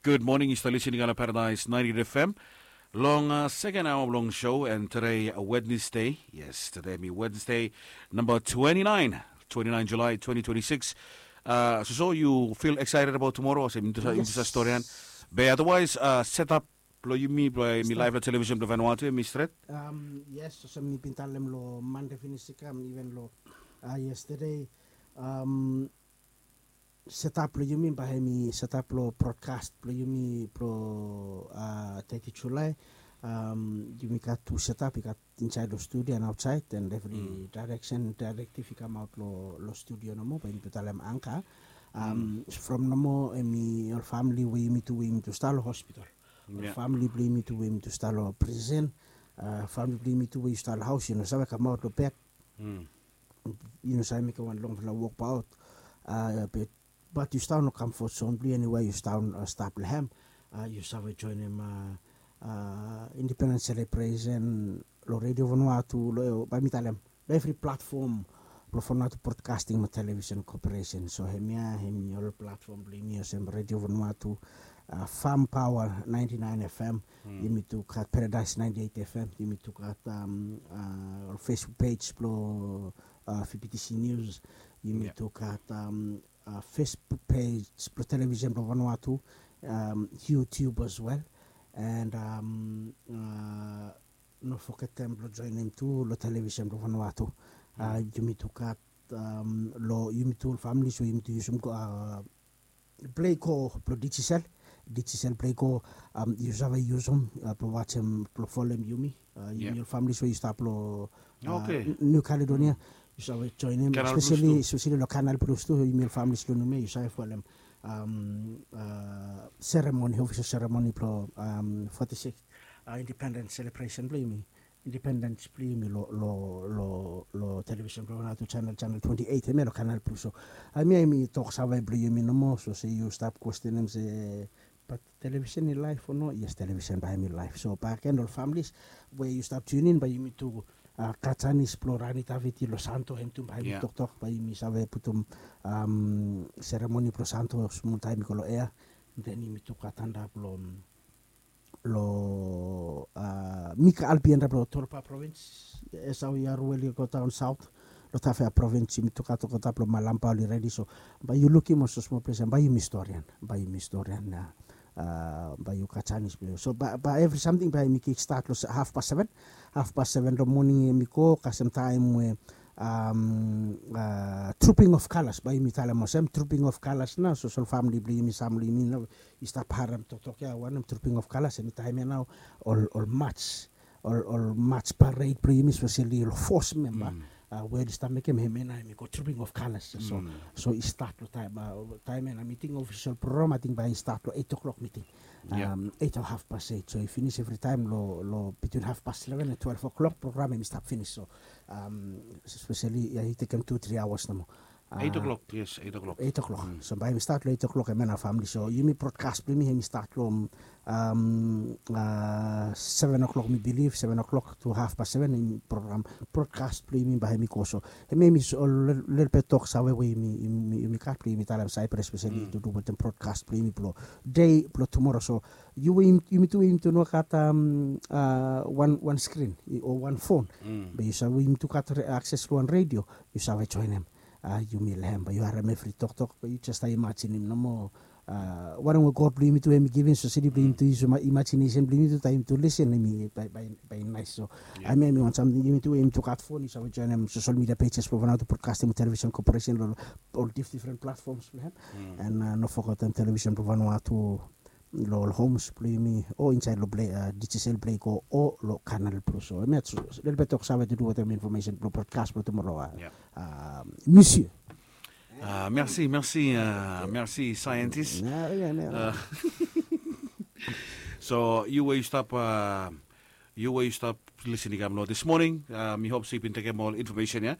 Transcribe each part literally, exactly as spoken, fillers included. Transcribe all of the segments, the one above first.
Gud moning, yu stap listening long Paradise ninety F M. Long uh, second hour blong show, and today uh, Wednesday. Yes, today mi Wednesday, number twenty-nine, twenty-nine July twenty twenty-six. Uh, so, so you feel excited about tomorrow? Ase mi tusa, mi tusa story an. Be otherwise, uh, setup blo yumi blo mi live lo television blo Vanuatu, mi stret. Um, yes, so mi bin talem lo Monday finish i kam, even lo uh, yesterday. Um, Setap blong yumi bae hemi setap long broadcast blong yumi blong teti Julai. Yumi gat tu setap i gat insaed long studio and aotsaed, and evri direction, directive i kamaot long studio nomo bae yumi tu talem anka. From nomo hemi ol famili we yumi tu we yumi tu stap long hospital, ol famili blong yumi tu we yumi tu stap long prison, famili blong yumi tu we yu stap long haos, yu no save kamaot long bed. Yu no save mekem wan longfala wok baot. Be bat yu stap long comfort zone blong yu, eniwe yu stap stap long hem, yu save joinim independence celebration long Radio Vanuatu, long bae mi talem long evri platform blong Vanuatu Broadcasting mo Television Corporation. So hemia hemi ol platform blong yumi olsem Radio Vanuatu, Farm Power ninety-nine F M, yumi tu gat Paradise ninety-eight F M, yumi tu gat ol Facebook page blong V P T C News, yumi tu gat Facebook page blong Television blong Vanuatu, YouTube as well. And no fogetem blong joinim tu long Television blong Vanuatu. Yumi tu gat long yumi tu ol familis we yumi tu yusum Play Go blong Digicel. Digicel Play Go, yu save yusum blong wajem, blong folem yumi. Yumi ol familis we yu stap long New Caledonia, yu save joinim, especially long Canal Plus tu. Yumi ol familis long Noumea, yu save folem ceremony, official ceremony blong forty-six independence celebration blong yumi, independence blong yumi long television blong Vanuatu channel, channel twenty-eight, hemia long Canal Plus. So hemia hemi tok save blong yumi nomo. So se yu stap kwestenem se bat television i laef o no? Yes, television bae hemi laef. So bakegen ol familis we yu stap tune in, bae yumi tu gat janis blong Rani Taviti long Santo, hem tu bae hemi toktok, bae yumi save putum ceremony blong Santo smol taem i go long ea. Den yumi tu gat antap long long Mika Albi antap long Torba provins. Esau Yaruel i go daon saot long Tafea provins, yumi tu gat go antap long Malamba oli redi. So bae yu lukim olsem smol ples ya, bae yumi storian, bae yumi storian ya. Bae yu gat janis blong yu. So bae evri samting bae yumi kikstat long haf pas seven. Haf pas seven long moning hemi go kasem taem we Trooping of Colours, bae yumi talem olsem, Trooping of Colours nao. So ol famili blong yumi, sam blong yumi nao i stap harem toktok ya, wanem Trooping of Colours, hemi taem ya nao ol, ol mats, ol, ol mats pared blong yumi, especially ol fos memba we oli stap mekem, hemia nao hemi go Trooping of Colours. So, so i stat long taem, taem ya nao miting, official program ating bae i stat long eight o'clock miting. Eight o haf pas eight. So i finis evri taem long, long between haf pas eleven and twelve o'clock program hemi stap finis. So especially ya i tekem tu tri aoas nomo. Eight o'clock, yes, eight o'clock. Eight o'clock. So bae yumi stat long eight o'clock, hemia nao famili. So yumi broadcast blong yumi hemi stat long seven o'clock, mi bilif seven o'clock tu haf pas seven, hemi program broadcast blong yumi bae hemi go. So hemia hemi lelebet toksave we yumi, yumi gat blong yumi talem Cyprus, especially tu du wetem broadcast blong yumi blong dei blong tumora. So yu we yumi tu, yumi tu no gat wan, wan screen o wan phone, be yu save, yumi tu gat akses long wan radio, yu save joinim. Yumi long hem, bae yu harem evri toktok, bae yu jes stap imajinim nomo. Wanem we God blong yumi tu hemi givim, so sedi blong yumi tu yusum imagination blong yumi tu taem yumi tu listen, hemi bae, bae, bae naes. So hemia hemi wan samting, yumi tu, yumi tu gat phone, yu save joinim social media pages blong Vanuatu Broadcasting Television Corporation long ol dif-, different platforms blong hem. And no fogetem television blong Vanuatu long ol homes blong yumi o insaed long Play, Digicel Play Go o long Canal Plus. So hemia lelebet toksave tu du wetem information blong broadcast blong tumora. Monsieur. Merci, merci, merci scientist. So yu we yu stap, yu we yu stap listening kam long this morning, mi hop se yu bin tekem ol information ya.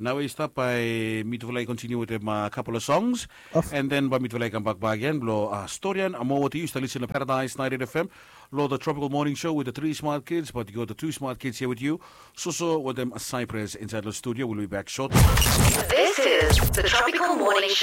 Nao we yu stap, bae mitufala i continue wetem couple of songs, and then bae mitufala i kambak bakegen blong storian moa wetem yu. Yu stap listening long Paradise ninety-eight F M, long the Tropical Morning Show with the three smart kids, but you got the two smart kids here with you. Soso wetem Cyprus insaed long studio. We'll be back shortly. This is the Tropical Morning Show.